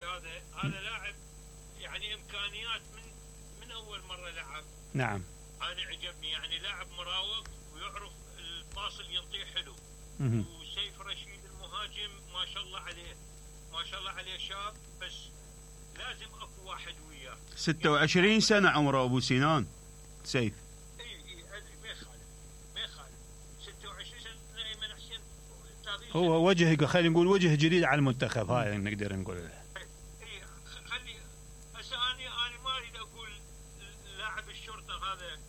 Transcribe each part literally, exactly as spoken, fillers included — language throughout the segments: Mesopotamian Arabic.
هذا هذا لاعب يعني امكانيات من من اول مره لعب. نعم. انا عجبني يعني لاعب مراوغ ويعرف الباص اللي ينطيه حلو. مم. وسيف رشيد المهاجم ما شاء الله عليه ما شاء الله عليه شاب، بس لازم اكو واحد وياه. ستة وعشرين سنة عمره ابو سنان سيف. اي اي ما يخالف ما يخالف ستة وعشرين سنة ايمن حسين. هو وجه، خلينا نقول وجه جديد على المنتخب، هاي نقدر نقول. اي خلي هسه اني انا ما اريد اقول لاعب الشرطه هذا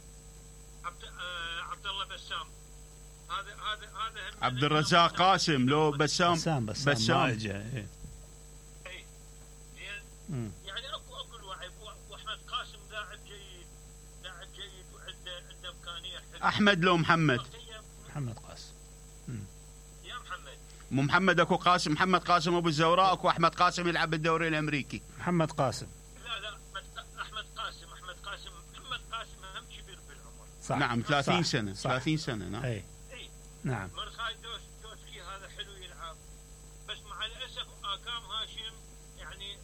عبد آه عبد الله بسام، هذا هذا هذا عبد الرزاق قاسم لو بسام بسام بسام, بسام. ما اجى. اي اي زين يعني اكو اكو الوعي. واحمد قاسم لاعب جيد لاعب جيد وعنده عنده امكانيه حلوه. احمد لو محمد؟ محمد قاسم. يا محمد مو محمد، اكو قاسم، محمد قاسم ابو الزوراء، اكو احمد قاسم يلعب بالدوري الامريكي. محمد قاسم. لا لا احمد قاسم احمد قاسم محمد قاسم هم كبير بالعمر. صح. نعم ثلاثين صح. سنة. صح. ثلاثين سنة. نعم. اي اي نعم. مرخاي دوس دوسكي هذا حلو يلعب، بس مع الاسف اكام هاشم يعني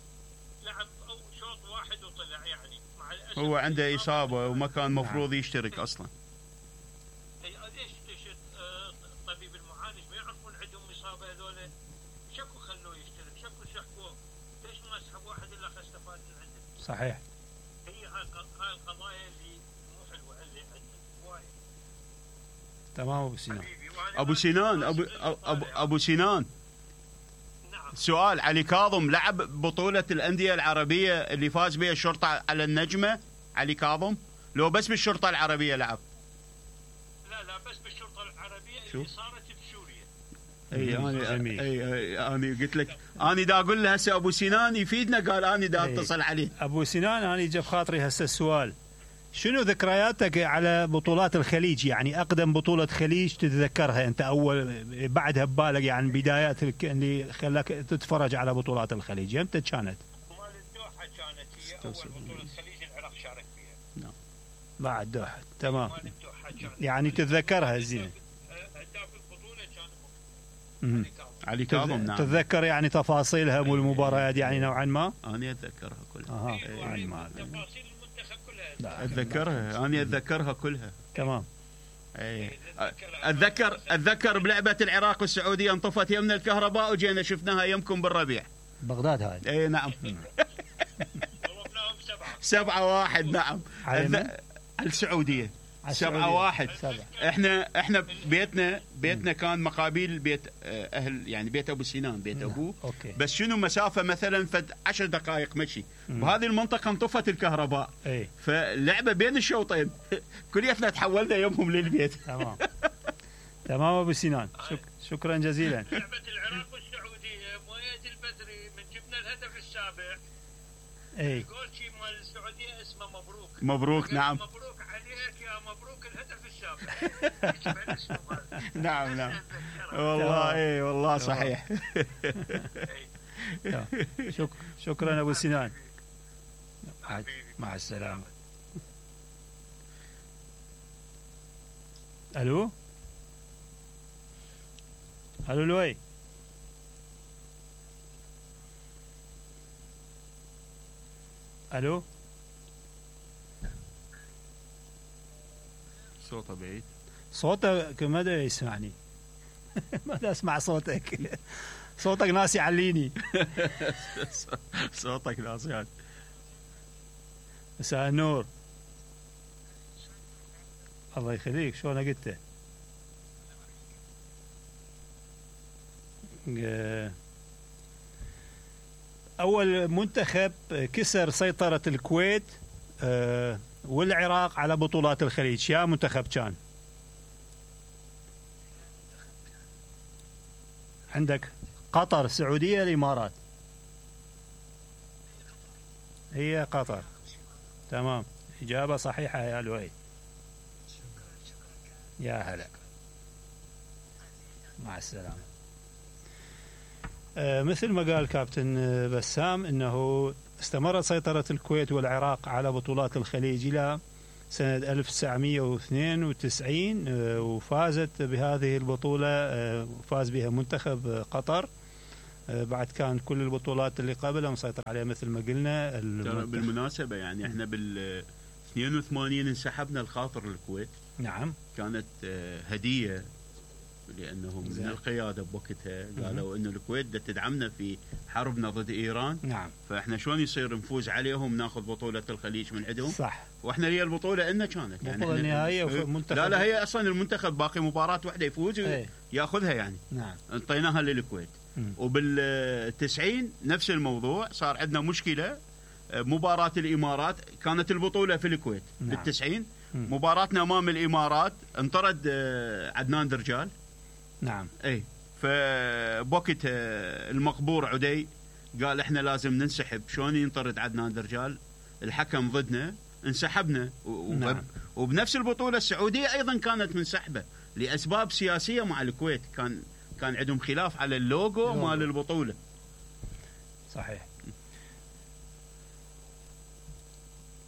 لعب او شوط واحد وطلع يعني مع الاسف. هو عنده اصابة وما كان مفروض يشترك اصلا. اي ليش ليش الطبيب المعالج ما يعرفون عندهم اصابة هذول؟ شكو خلوه يشترك، شكو سحبوه، ليش ما سحب واحد الا استفاد من عنده؟ صحيح. هي هاي هاي القضايا اللي مو حلوه اللي عندنا وايد. تمام ابو سنان. ابو سنان ابو ابو, أبو سنان نعم. سؤال، علي كاظم لعب بطولة الأندية العربية اللي فاز بها الشرطة على النجمة؟ علي كاظم لو بس بالشرطة العربية لعب؟ لا لا بس بالشرطة العربية شو؟ اللي صارت بسوريا. اي انا اي انا قلت لك انا دا اقول له هسه ابو سنان يفيدنا، قال انا دا اتصل عليه. ابو سنان انا جاب خاطري هسه السؤال، شنو ذكرياتك على بطولات الخليج؟ يعني اقدم بطولة خليج تتذكرها انت، اول بعدها ببالك يعني بدايات اللي خلاك تتفرج على بطولات الخليج، امتى كانت؟ مال الدوحة كانت هي اول بطولة خليج العراق شارك فيها. نعم. بعد دوحة. تمام. مال الدوحة كانت يعني تتذكرها زين. هداف البطولة كان علي كاظم. نعم. تتذكر يعني تفاصيلها والمباريات يعني نوعا ما؟ انا اتذكرها كلها. اها. يعني ما تفاصيل المنتخب كلها اتذكرها، انا اتذكرها كلها. تمام. اي اتذكر اتذكر بلعبة العراق والسعودية انطفت يمنا الكهرباء وجينا شفناها يمكم بالربيع. بغداد هاي. اي نعم. ضربناهم سبعة سبعة واحد. نعم. على السعودية سبعة واحد. احنا احنا بيتنا بيتنا كان مقابل بيت اهل يعني بيت ابو سنان، بيت ابوه. أوكي. بس شنو مسافه مثلا فد عشر دقائق مشي، بهذه المنطقه انطفت الكهرباء. اي. فاللعبه بين الشوطين كليتنا تحولنا يومهم للبيت. تمام. تمام ابو سنان، شك... شكرا جزيلا. لعبة العراق والسعودية مؤيد البدري من جبنا الهدف السابع. اي. الجول شي مال السعودية اسمه مبروك. مبروك. نعم. مبروك عليك يا مبروك الهدف السابع. نعم نعم والله. اي والله صحيح. شك... شكرا ابو سنان. مع السلامة. الو الو لوي. الو. صوته بعيد. صوتك ماذا يسمعني؟ ماذا اسمع صوتك؟ صوتك ناس يعليني. صوتك ناس يعني. مساء النور. الله يخليك، شلون قلت؟ أول منتخب كسر سيطرة الكويت والعراق على بطولات الخليج، يا منتخب كان؟ عندك قطر، السعودية، الإمارات؟ هي قطر. تمام، إجابة صحيحة يا لؤي. يا هلا، مع السلامة. آه مثل ما قال كابتن بسام انه استمرت سيطرة الكويت والعراق على بطولات الخليج الى سنة ألف وتسعمئة واثنين وتسعين، آه وفازت بهذه البطولة، آه فاز بها منتخب قطر بعد كان كل البطولات اللي قبلها مسيطر عليها مثل ما قلنا. بالمناسبة يعني احنا بال اثنين وثمانين انسحبنا الخاطر الكويت. نعم. كانت هدية لأنهم من القيادة بوقتها قالوا إنه الكويت بدها تدعمنا في حربنا ضد إيران. نعم. فإحنا شلون يصير نفوز عليهم ناخذ بطولة الخليج من عندهم. صح. وإحنا هي البطولة إلنا كانت يعني بطولة نهائية ومنتخب. لا لا هي أصلا المنتخب باقي مباراة واحدة يفوز ويأخذها يعني. نعم. انطيناها للكويت. وبالتسعين نفس الموضوع صار عندنا مشكلة. مباراة الإمارات كانت البطولة في الكويت. نعم. بالتسعين مباراتنا أمام الإمارات انطرد عدنان درجال. نعم. اي فبوقت المقبور عدي قال احنا لازم ننسحب. شلون ينطرد عدنان درجال؟ الحكم ضدنا انسحبنا. نعم. وبنفس البطولة السعودية ايضا كانت منسحبة لاسباب سياسية مع الكويت. كان كان عندهم خلاف على اللوجو مال البطولة. صحيح.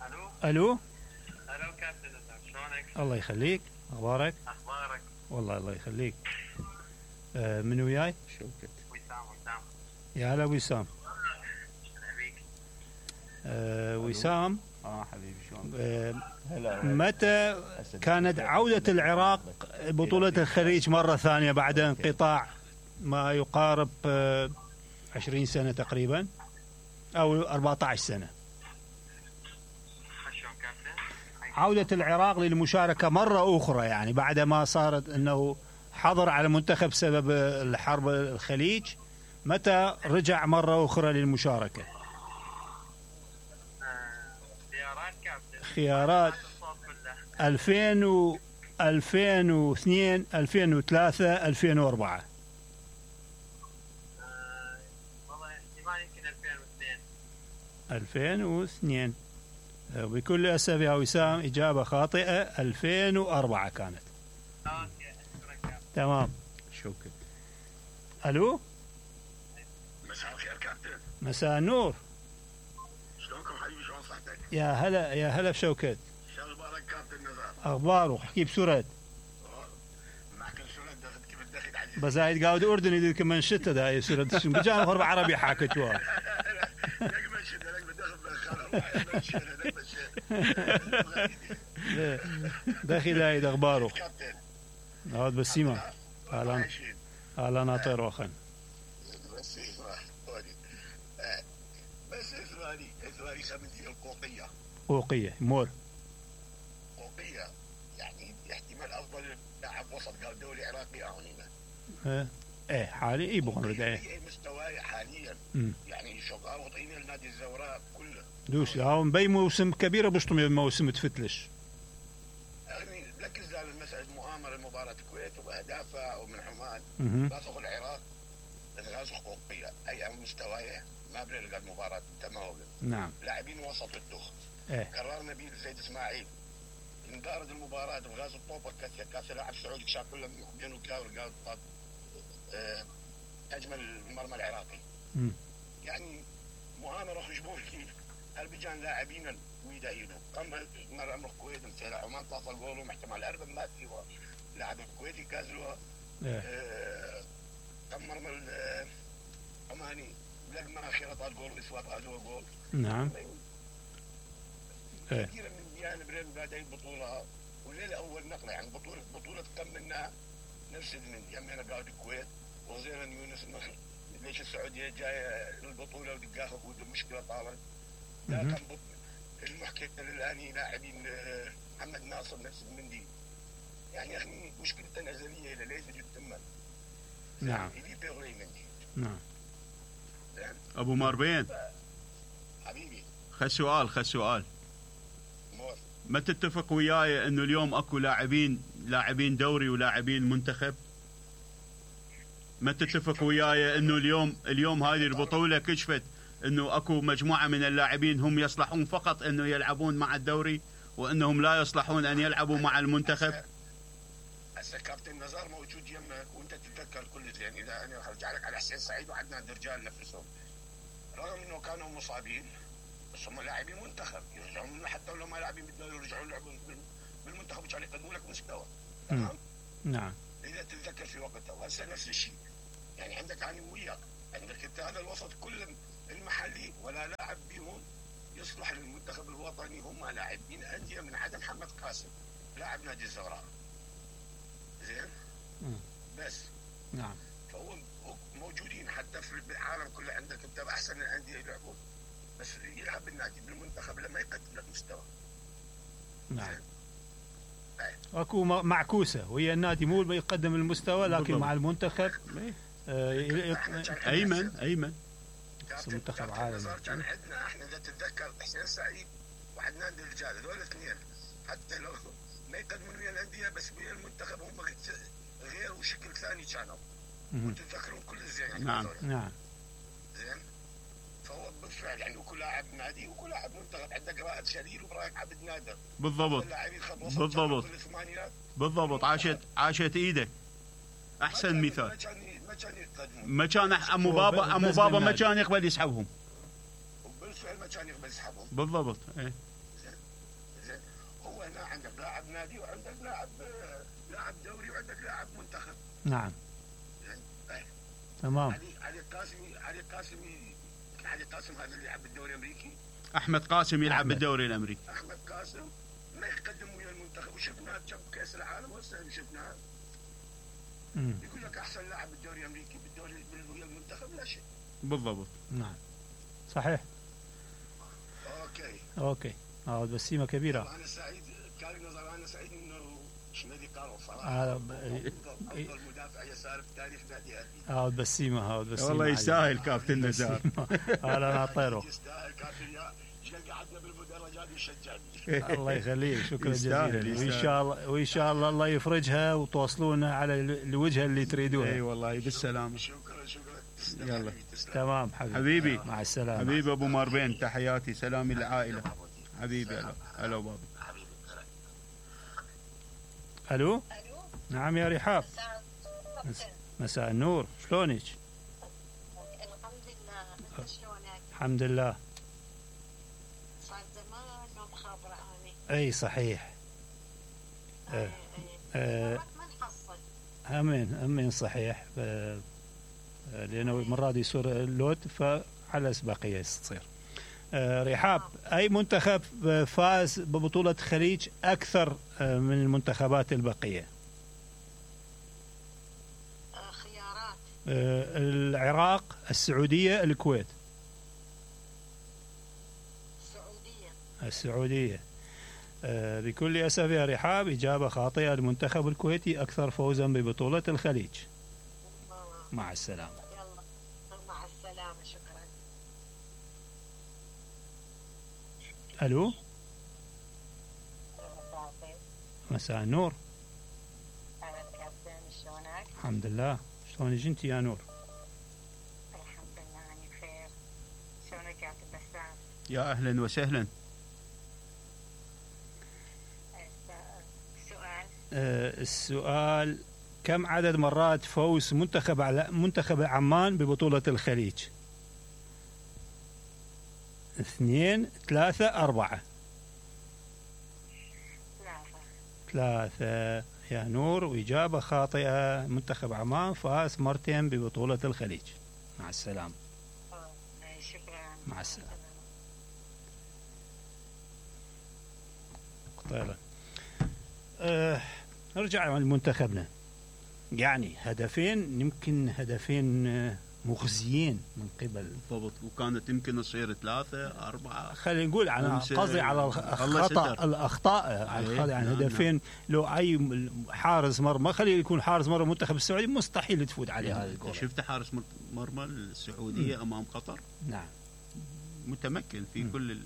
الو الو الو كابتن شلونك؟ الله يخليك. اخبارك؟ اخبارك؟ والله الله يخليك. آه من وياي؟ شوكت. وسام. وسام يا هلا وسام. حبيبي. آه وسام. اه حبيبي شلونك؟ آه متى كانت عودة العراق بطولة الخليج مرة ثانية بعد انقطاع ما يقارب آه عشرين سنة تقريبا او أربعة عشر سنة؟ عودة العراق للمشاركة مرة أخرى يعني بعد ما صارت أنه حظر على المنتخب بسبب الحرب الخليج. متى رجع مرة أخرى للمشاركة؟ خيارات كابتن. خيارات ألفين و ألفين واثنين ألفين وثلاثة ألفين وأربعة. والله احتمال يمكن ألفين واثنين. ألفين واثنين. بكل أسف يا وسام إجابة خاطئة. ألفين وأربعة كانت. اوكي اشكرك. تمام. شكرا. ألو. مساء الخير كابتن. مساء النور. شلونكم حبيبي؟ شلون صحتك؟ يا هلا يا هلا بشوكت. شو اخبارك كابتن نزار؟ أخباره احكي بسرعة. معك سرعة دخلت كيف الدخل عزيزي. بس هاي قاعد أردني ذيك من شتى ده هاي سرعة بجانا غرب عربي حاكت واه. لك من شتى لك بدخل بالخرا من شتى لك من شتى. داخل هاي أخباره. كابتن. هذا بسيمة. أهلا أهلا ناطر وخن. بس اسمع بس اسمعني اسمعني خمسين القوقية. قوقية مور. قوقية يعني احتمال أفضل لاعب وسط قال دولي عراقي أهونينا. ايه ايه حالي اي بغن رد ايه. اي مستواه حاليا. م. يعني شقا وطينا النادي الزوراء كله. دوش هاو مبي موسم كبيرة بشطم موسم تفتلش. يعني لك زال المسألة مؤامرة مباراة الكويت وأهدافها ومن عمان. اها. غازق العراق غازق قوقية أي مستواه ما بنلقى المباراة تمام. نعم. لاعبين وسط الدخ. ايه. قررنا بيه زيد اسماعيل. انقارد المباراة بغاز الطوبة كاسيا كاس لاعب سعودي شاكل بينه كاور قال طاب اه أجمل المرمى العراقي. م. يعني مؤامرة خشبوشكي هالبجان لاعبين ويداينه أما مرة أمر الكويت مثل عمان تصل قولهم احتمال أربع ما سوى لاعب الكويتي كازلوا اه كم مرمى العماني لقما أخيرا طال جول إسواب هذا جول. نعم. ايه. كثير من جانب رين قاعد البطولة والليلة أول نقلة يعني بطولة بطولة كم منها نفس من يمنا قاعد الكويت وزيرا يونس النخل. ليش السعودية جاية للبطولة ودقاها وده مشكلة طالت. لا كان المحكمة الآن لاعبين محمد ناصر نفس المندي. يعني يا أخي مشكلة أزلية إلى ليس جد تمام. نعم. نعم. أبو ماربين. حبيبي. خل سؤال خل سؤال. ما تتفق وياي انه اليوم اكو لاعبين لاعبين دوري ولاعبين منتخب؟ ما تتفق وياي انه اليوم اليوم هذه البطولة كشفت انه اكو مجموعة من اللاعبين هم يصلحون فقط انه يلعبون مع الدوري وانهم لا يصلحون ان يلعبوا مع المنتخب؟ هسه كابتن نزار موجود يمك وانت تتذكر كل زين. اذا انا ارجع لك على حسين سعيد وعدنان درجال نفسهم رغم انه كانوا مصابين بس هم لاعبين منتخب يرجعون حتى لو ما لاعبين بالدوري يرجعون يلعبون بالمنتخب عشان يقدموا لك مستوى. تمام. نعم. اذا تتذكر في وقتها وهسه نفس الشيء يعني عندك انا وياك عندك انت هذا الوسط كله المحلي ولا لاعب بيهم يصلح للمنتخب الوطني، هم لاعبين انديه من عدم محمد قاسم لاعب نادي الزهراء. زين؟ بس نعم. فهو موجودين حتى في العالم كله، عندك انت باحسن الانديه يلعبون، بس يلعب بالنادي بالمنتخب لما يقدم لك مستوى. نعم. اكو معكوسه ويا النادي مو يقدم المستوى، لكن بالضبط. مع المنتخب آه ايمن ايمن منتخب عالمي. كان عندنا احنا اذا تتذكر حسين سعيد وعدنان الرجال، هذول الاثنين حتى لو ما يقدمون ويا الانديه بس ويا المنتخب هم غير وشكل ثاني كانوا. وتتذكرون كل زين يعني. نعم نعم. زين. فهو بالفعل يعني وكل لاعب نادي وكل لاعب منتخب. عندك رائد شليل وابراهيم عبد نادر. بالضبط بالضبط بالضبط. عاشت عاشت ايدك. احسن مثال. ما كان يقدمون. ما كان ابو بابا ابو بابا ما كان يقبل يسحبهم. وبالفعل ما كان يقبل يسحبهم. بالضبط. ايه. زين. زين. هو هنا عندك لاعب نادي وعندك لاعب لاعب دوري وعندك لاعب منتخب. نعم. زين. ايه. تمام. علي علي قاسمي علي قاسمي علي قاسم هذا اللي يلعب بالدوري الامريكي. احمد قاسم يلعب أحمد. بالدوري الامريكي. احمد قاسم ما يقدم ويا المنتخب، وشفناه جاب كاس العالم وهسه شفناه يقول لك احسن لاعب بالدوري الامريكي بالدوري ويا المنتخب لا شيء. بالضبط. نعم صحيح. اوكي اوكي. اه بسيمه كبيره. انا سعيد كان نظر انا سعيد انه شنو قالوا صراحه آه افضل مدافع يسار في تاريخ نادي اهلي. اه بسيمه ها بسيمه والله يستاهل كابتن نزار. انا ناطره. يستاهل كابتن يا شقد قعدنا بالمدرجات يشجعني. الله يخليك. شكرا يستاهل جزيلا. يستاهل. وان شاء الله وان شاء الله الله يفرجها وتوصلونا على الوجهه اللي تريدونها. اي والله بالسلامه. شكرا شكرا. يلا. تمام حبيبي. حبيبي مع السلامه. حبيبي ابو ماربين، تحياتي سلامي للعائله. حبيبي. هلا هلا بابا. الو. الو. نعم يا رحاب. مساء النور، شلونك؟ الحمد لله، انت شلونك؟ الحمد لله. صار زمان ما مخابره اني. اي صحيح. اي آه ما نحصل. امين امين صحيح. آه لانه مرات يصير اللود فعلى اسبقيه تصير. آه رحاب، اي منتخب فاز ببطوله خليج اكثر آه من المنتخبات البقيه؟ آه خيارات. آه العراق، السعوديه، الكويت. السعوديه. السعوديه. آه بكل اسف يا رحاب، اجابه خاطئه. المنتخب الكويتي اكثر فوزا ببطوله الخليج. مع السلامه. يلا مع السلامه. شكرا. الو. مساء النور. اهلا كابتن، شلونك؟ الحمد لله. شلونك انت يا نور؟ الحمد لله انا بخير. شلونك كابتن بسام؟ يا اهلا وسهلا. سؤال. آه السؤال: كم عدد مرات فوز منتخب على منتخب عمان ببطولة الخليج؟ اثنين، ثلاثة، أربعة؟ ثلاثة. ثلاثة يا نور، وإجابة خاطئة. منتخب عمان فاز مرتين ببطولة الخليج. مع السلامة. شكرا. مع السلامة. طيب. أه نرجع لمنتخبنا. يعني هدفين، يمكن هدفين مخزيين من قبل. بالضبط. وكانت يمكن تصير ثلاثة أربعة. خلينا نقول أنا قصدي على الخطأ الأخطاء يعني هدفين. لو أي حارس مرمى، خلي يكون حارس مرمى منتخب السعودي مستحيل تفوت عليه هذه الكرة. شفت حارس مرمى السعودية م. أمام قطر؟ نعم. متمكن في م. كل ال...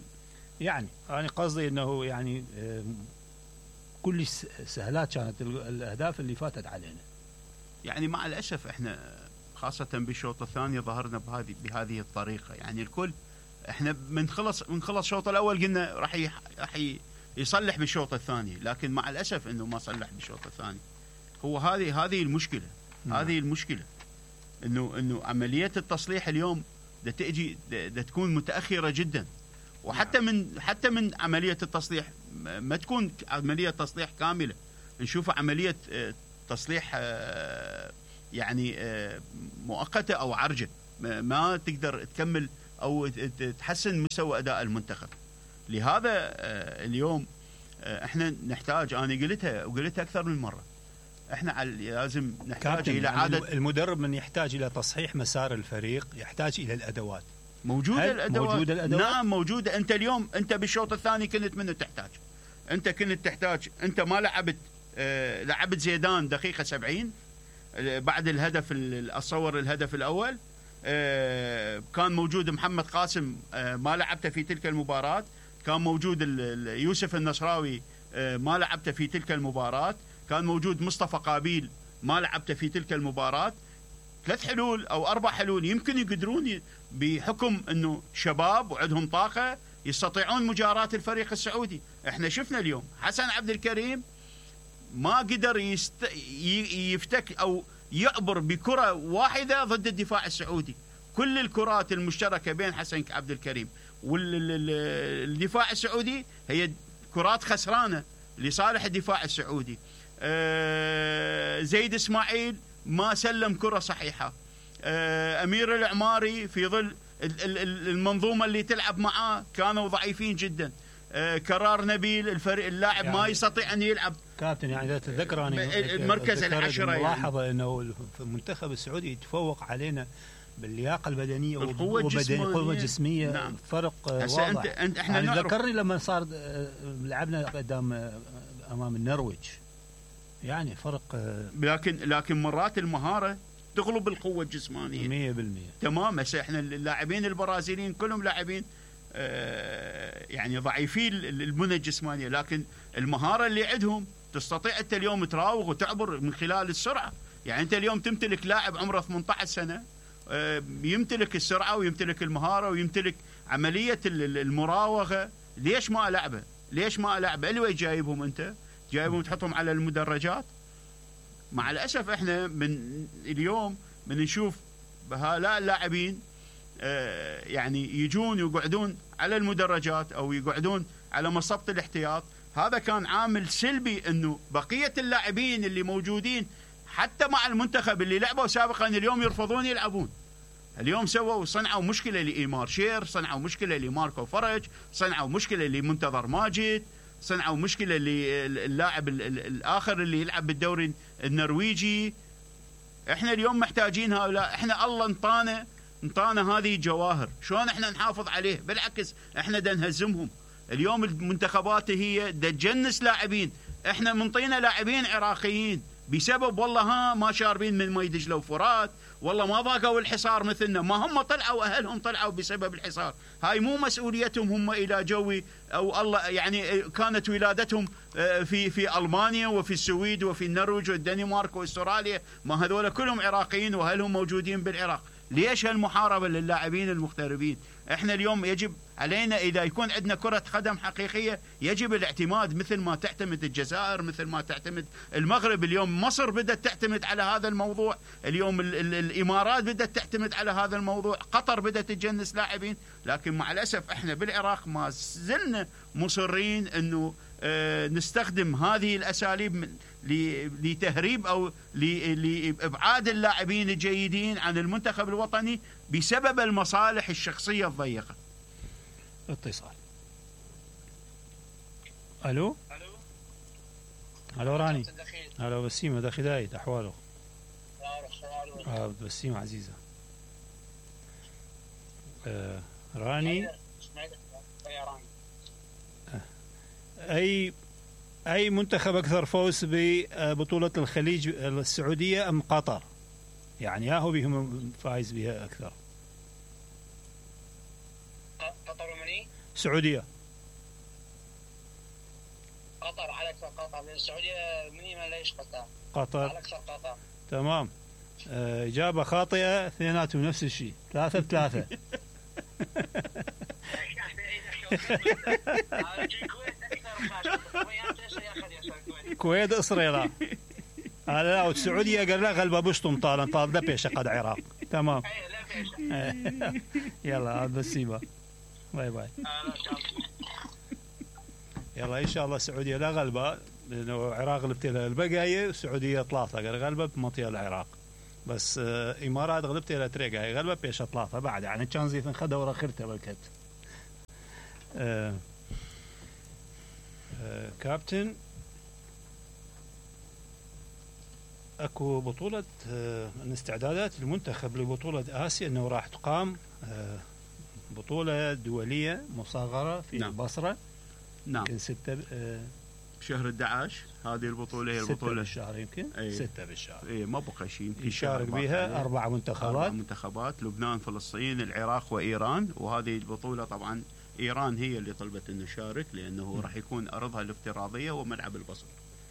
يعني أنا قصدي أنه يعني كل سهلات كانت الأهداف اللي فاتت علينا. يعني مع الأسف إحنا خاصة بالشوط الثاني ظهرنا بهذه بهذه الطريقة. يعني الكل احنا من خلص من خلص الشوط الأول قلنا راح راح يصلح بالشوط الثاني، لكن مع الأسف إنه ما صلح بالشوط الثاني. هو هذه هذه المشكلة. نعم. هذه المشكلة إنه إنه عملية التصليح اليوم ده تأجي ده تكون متأخرة جدا. وحتى نعم. من حتى من عملية التصليح ما تكون عملية تصليح كاملة، نشوف عملية تصليح يعني مؤقتة أو عرجة، ما تقدر تكمل او تحسن مستوى اداء المنتخب. لهذا اليوم احنا نحتاج، انا قلتها وقلتها اكثر من مره، احنا لازم نحتاج الى عاده. المدرب من يحتاج الى تصحيح مسار الفريق، يحتاج الى الادوات. موجوده الادوات. موجوده الادوات نعم موجوده. انت اليوم انت بالشوط الثاني كنت منه تحتاج، انت كنت تحتاج، انت ما لعبت آه لعبت زيدان دقيقه سبعين آه بعد الهدف، اتصور الهدف الاول آه كان موجود محمد قاسم آه ما لعبته في تلك المباراه، كان موجود يوسف النصراوي آه ما لعبته في تلك المباراه، كان موجود مصطفى قابيل ما لعبته في تلك المباراه. ثلاث حلول او اربع حلول يمكن يقدرون بحكم انه شباب وعندهم طاقه يستطيعون مجاراة الفريق السعودي. احنا شفنا اليوم حسن عبد الكريم ما قدر يست... يفتك او يعبر بكره واحده ضد الدفاع السعودي. كل الكرات المشتركه بين حسن عبد الكريم والدفاع السعودي هي كرات خسرانه لصالح الدفاع السعودي. زيد اسماعيل ما سلم كره صحيحه. امير العماري في ظل المنظومه اللي تلعب معاه كانوا ضعيفين جدا. كرار نبيل الفريق اللاعب يعني ما يستطيع ان يلعب. كابتن يعني اذا تتذكر انا المركز العشره ملاحظه يعني. انه في المنتخب السعودي يتفوق علينا باللياقه البدنيه والقوه الجسمانيه, القوة الجسمية. نعم. فرق واضح. انت انت احنا يعني ذكرني لما صار لعبنا قدام امام النرويج، يعني فرق. لكن لكن مرات المهاره تغلب القوه الجسمانيه مية بالمية. تمام. هسه احنا اللاعبين البرازيليين كلهم لاعبين آه يعني ضعيفين البنى الجسمانيه، لكن المهاره اللي عندهم تستطيع انت اليوم تراوغ وتعبر من خلال السرعه. يعني انت اليوم تمتلك لاعب عمره ثمانية عشر سنه آه يمتلك السرعه ويمتلك المهاره ويمتلك عمليه المراوغه. ليش ما العبه؟ ليش ما العبه؟ اللي جايبهم انت جايبهم تحطهم على المدرجات. مع الاسف احنا من اليوم من نشوف هؤلاء اللاعبين آه يعني يجون يقعدون على المدرجات او يقعدون على مصبة الاحتياط. هذا كان عامل سلبي انه بقيه اللاعبين اللي موجودين حتى مع المنتخب اللي لعبوا سابقا اليوم يرفضون يلعبون. اليوم سووا صنعوا مشكله لايمار شير، صنعوا مشكله لماركو فرج، صنعوا مشكله لمنتظر ماجد، صنعوا مشكله للاعب الاخر اللي يلعب بالدوري النرويجي. احنا اليوم محتاجين هؤلاء. احنا الله انطانا انطانا هذه جواهر، شلون احنا نحافظ عليه؟ بالعكس احنا دا نهزمهم. اليوم المنتخبات هي دا تجنس لاعبين، احنا منطينا لاعبين عراقيين بسبب والله ها ما شاربين من مي دجله وفرات، والله ما ضاقوا الحصار مثلنا، ما هم طلعوا اهلهم طلعوا بسبب الحصار. هاي مو مسؤوليتهم هم الى جوي او الله يعني كانت ولادتهم في في المانيا وفي السويد وفي النرويج والدنمارك واستراليا، ما هذول كلهم عراقيين واهلهم موجودين بالعراق. ليش هالمحاربه للاعبين المغتربين؟ احنا اليوم يجب علينا اذا يكون عندنا كره قدم حقيقيه يجب الاعتماد مثل ما تعتمد الجزائر، مثل ما تعتمد المغرب. اليوم مصر بدات تعتمد على هذا الموضوع، اليوم ال ال الامارات بدات تعتمد على هذا الموضوع، قطر بدات تجنس لاعبين. لكن مع الاسف احنا بالعراق ما زلنا مصرين انه اه نستخدم هذه الاساليب لتهريب او لابعاد اللاعبين الجيدين عن المنتخب الوطني بسبب المصالح الشخصيه الضيقه. اتصال. الو الو راني. الو بسيمه داخل دايت احواله. اه بسيمه عزيزه. آه راني اي اي منتخب اكثر فوز ببطوله الخليج السعوديه ام قطر؟ يعني يا هو بهم فايز بها اكثر. قطر ومني؟ السعوديه. قطر على اكثر قطر، لان السعوديه مني ما ليش قطر. قطر على اكثر قطر. تمام. آه اجابه خاطئه، اثنيناتهم نفس الشيء، ثلاثه بثلاثه. كويت اسرائيل هذا لا، والسعوديه قال لا غلبه بشطم طال طال دبيشه قد عراق. تمام. يلا بسيبه باي باي. يلا ان شاء الله السعوديه لا غلبه، لانه العراق غلبت لها البقايه، السعوديه ثلاثه قال غلبه بمطيه العراق. بس آه امارات غلبت الى تريقا هي غلبه بيش اطلافها بعد يعني كان زي خذ ورا خرته بالكت. آه آه كابتن اكو بطولة آه من استعدادات المنتخب لبطولة اسيا انه راح تقام آه بطولة دولية مصغرة في نعم. البصرة. نعم. يمكن ستة آه شهر أحد عشر هذه البطولة هي ستة البطولة بالشهر يمكن أي. ستة بالشهر. اي ما بقى شيء يمكن يشارك بها أربع منتخبات. أربع منتخبات لبنان فلسطين العراق وإيران. وهذه البطولة طبعا إيران هي اللي طلبت أن نشارك لأنه راح يكون أرضها الافتراضية وملعب البصر.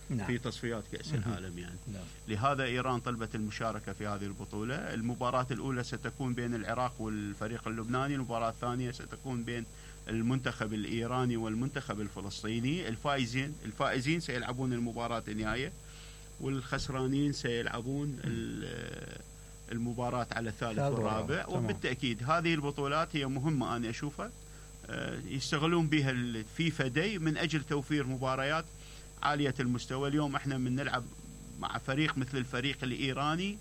نعم. في تصفيات كأس العالم يعني. نعم. لهذا إيران طلبت المشاركة في هذه البطولة. المباراة الأولى ستكون بين العراق والفريق اللبناني. المباراة الثانية ستكون بين المنتخب الإيراني والمنتخب الفلسطيني. الفائزين الفائزين سيلعبون المباراة النهائية والخسرانين سيلعبون المباراة على الثالث والرابع. وبالتأكيد هذه البطولات هي مهمة أنا أشوفها يشتغلون بها الفيفا داي من أجل توفير مباريات عالية المستوى. اليوم احنا من نلعب مع فريق مثل الفريق الإيراني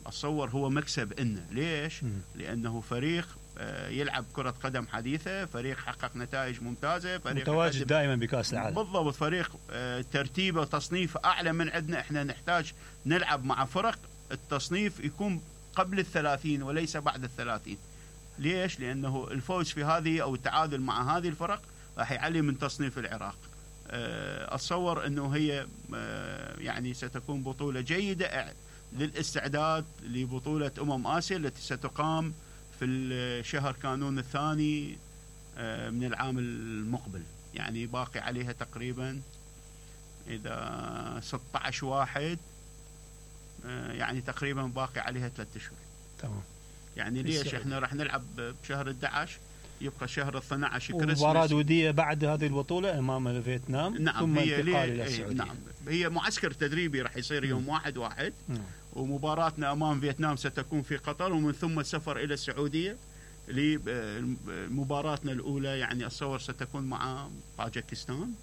أتصور هو مكسب إنه ليش؟ م. لأنه فريق يلعب كرة قدم حديثة، فريق حقق نتائج ممتازة، فريق متواجد دائما بكأس العالم. بالضبط، فريق ترتيبه وتصنيف أعلى من عندنا. احنا نحتاج نلعب مع فرق التصنيف يكون قبل الثلاثين وليس بعد الثلاثين. ليش؟ لأنه الفوز في هذه أو التعادل مع هذه الفرق راح يعلي من تصنيف العراق. أتصور أنه هي يعني ستكون بطولة جيدة للاستعداد لبطولة أمم آسيا التي ستقام في الشهر كانون الثاني من العام المقبل. يعني باقي عليها تقريبا إذا ستة عشر واحد يعني تقريبا باقي عليها ثلاثة أشهر. تمام. يعني ليش احنا راح نلعب بشهر أحد عشر يبقى شهر اثني عشر كريسماس. مباراة ودية بعد هذه البطولة أمام فيتنام. نعم. ثم هي انتقال إلى السعودية. نعم. هي معسكر تدريبي راح يصير يوم واحد واحد. م. ومباراتنا أمام فيتنام ستكون في قطر ومن ثم السفر إلى السعودية لمباراتنا الأولى. يعني أتصور ستكون مع طاجكستان.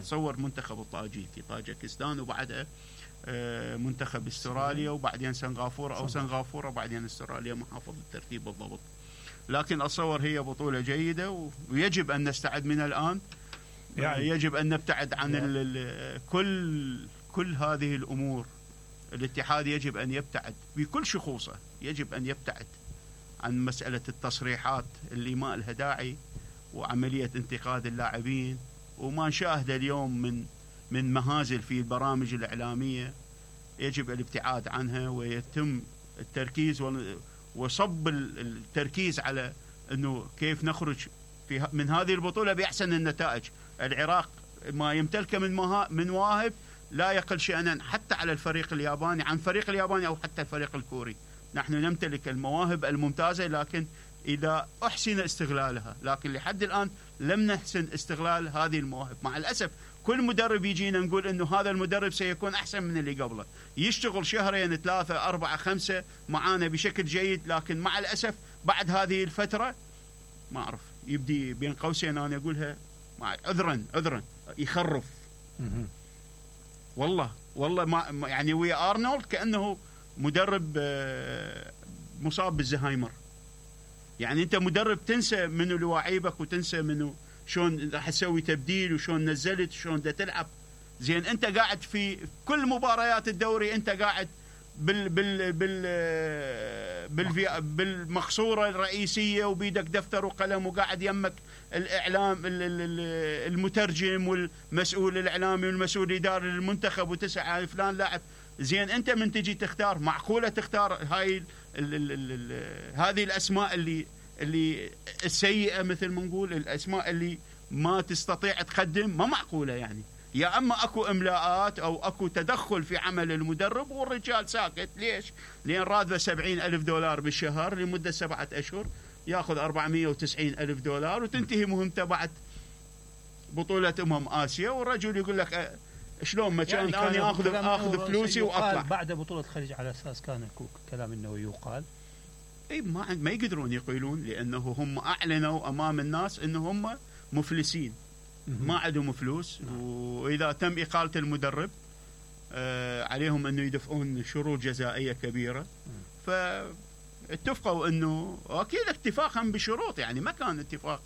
أتصور منتخب الطاجيكي طاجكستان وبعدها منتخب استراليا وبعدين سنغافورة أو سنغافورة وبعدين استراليا محافظ الترتيب بالضبط. لكن أتصور هي بطولة جيدة ويجب أن نستعد من الآن. يعني يجب أن نبتعد عن ال كل كل هذه الأمور. الاتحاد يجب أن يبتعد بكل شخوصه، يجب أن يبتعد عن مسألة التصريحات اللي ما لها داعي وعملية انتقاد اللاعبين وما نشاهده اليوم من من مهازل في البرامج الإعلامية. يجب الابتعاد عنها ويتم التركيز وصب التركيز على أنه كيف نخرج في من هذه البطولة بأحسن النتائج. العراق ما يمتلكه من من مواهب لا يقل شأنا حتى على الفريق الياباني عن فريق الياباني أو حتى الفريق الكوري. نحن نمتلك المواهب الممتازة لكن إذا أحسن استغلالها، لكن لحد الآن لم نحسن استغلال هذه المواهب. مع الأسف كل مدرب يجينا نقول إنه هذا المدرب سيكون أحسن من اللي قبله، يشتغل شهرين ثلاثة أربعة خمسة معانا بشكل جيد، لكن مع الأسف بعد هذه الفترة ما أعرف يبدي بين قوسين أنا أقولها عذرا عذرا يخرف. والله والله ما يعني ويا أرنولد كأنه مدرب مصاب بالزهايمر. يعني أنت مدرب تنسى منه لواعيبك وتنسى منه شلون راح تسوي تبديل وشلون نزلت وشلون دا تلعب. زين أنت قاعد في كل مباريات الدوري أنت قاعد بال بال بال بال بالمقصورة الرئيسية وبيدك دفتر وقلم وقاعد يمك الإعلام المترجم والمسؤول الإعلامي والمسؤول الإداري للمنتخب وتسعى فلان لاعب. زين أنت من تجي تختار معقولة تختار هاي ال ال ال ال هذه الأسماء اللي اللي السيئة مثل ما نقول الأسماء اللي ما تستطيع تقدم ما معقولة. يعني يا أما أكو إملاءات أو أكو تدخل في عمل المدرب والرجال ساكت. ليش؟ لأن راتبه سبعين ألف دولار بالشهر لمدة سبعة أشهر يأخذ أربعمية وتسعين ألف دولار وتنتهي مهمته بعد بطولة أمم آسيا والرجل يقول لك شلون ما كان يعني أنا أخذ أخذ فلوسي وأطلع. بعد بطولة الخليج على أساس كان كلام إنه يقال اي ما ما يقدرون يقولون لانه هم اعلنوا امام الناس انه هم مفلسين ما عندهم فلوس. واذا تم اقاله المدرب عليهم انه يدفعون شروط جزائيه كبيره. فاتفقوا انه واكيد اتفاقا بشروط، يعني ما كان اتفاق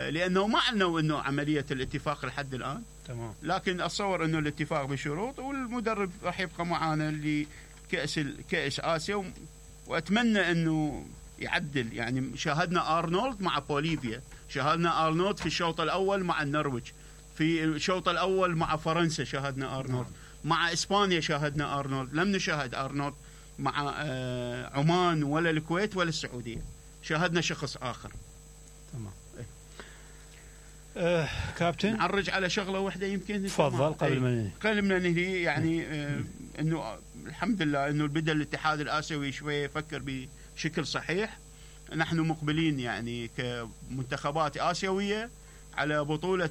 لانه ما اعلنوا انه عمليه الاتفاق لحد الان. تمام. لكن اتصور انه الاتفاق بشروط، والمدرب راح يبقى معانا لكاس كاس اسيا، واتمنى انه يعدل. يعني شاهدنا ارنولد مع بوليفيا، شاهدنا ارنولد في الشوط الاول مع النرويج، في الشوط الاول مع فرنسا شاهدنا ارنولد، مع اسبانيا شاهدنا ارنولد. لم نشاهد ارنولد مع عمان ولا الكويت ولا السعوديه، شاهدنا شخص اخر. تمام. أه كابتن نعرج على شغله واحده يمكن. تفضل قبل ما ننهي. قبل ما ننهي يعني آه انه الحمد لله انه بدا الاتحاد الاسيوي شويه يفكر بشكل صحيح. نحن مقبلين يعني كمنتخبات اسيويه على بطوله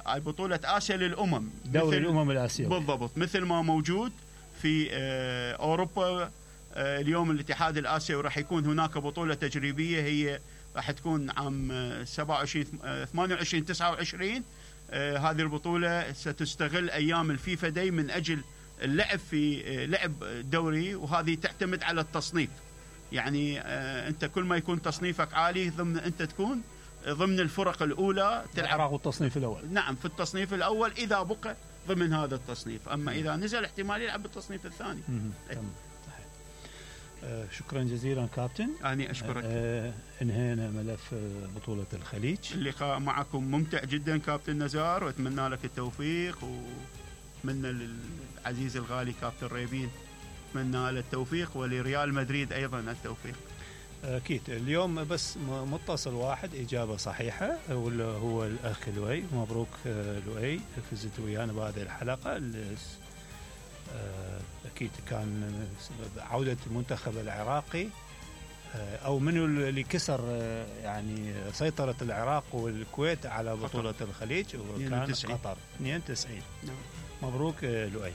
بطوله اسيا للامم، دوري الامم الاسيوي بالضبط، مثل ما موجود في آه اوروبا. آه اليوم الاتحاد الاسيوي راح يكون هناك بطوله تجريبيه، هي راح تكون عام سبعة وعشرين ثمانية وعشرين تسعة وعشرين. آه هذه البطولة ستستغل أيام الفيفا داي من أجل اللعب في آه لعب دوري، وهذه تعتمد على التصنيف. يعني آه أنت كل ما يكون تصنيفك عالي ضمن أنت تكون ضمن الفرق الأولى تلعب. التصنيف الأول. نعم، في التصنيف الأول إذا بقى ضمن هذا التصنيف، أما إذا نزل احتمال يلعب بالتصنيف الثاني. آه شكرا جزيلا كابتن. أنا أشكرك. آه انهينا ملف بطولة الخليج. اللقاء معكم ممتع جدا كابتن نزار، وأتمنى لك التوفيق، وأتمنى للعزيز الغالي كابتن ريبين أتمنى له التوفيق، ولريال مدريد أيضا التوفيق. أكيد. اليوم بس متصل واحد إجابة صحيحة، هو الأخ لؤي. مبروك لؤي، فزت ويانا بهذه الحلقة. أكيد كان عودة المنتخب العراقي، أو منو اللي كسر يعني سيطرة العراق والكويت على بطولة قطر. الخليج، وكان قطر اثنين وتسعين. مبروك لؤي.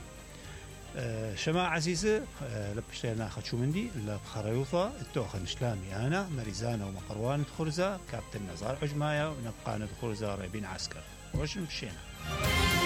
شماعة عزيزة لبشتنا خدشو مندي لبخريوثة التوخن شلامي أنا مريزانة ومقروان خرزة كابتن نزار عجماية، ونبقى ندخرزة ريبين عسكر وش مشينا.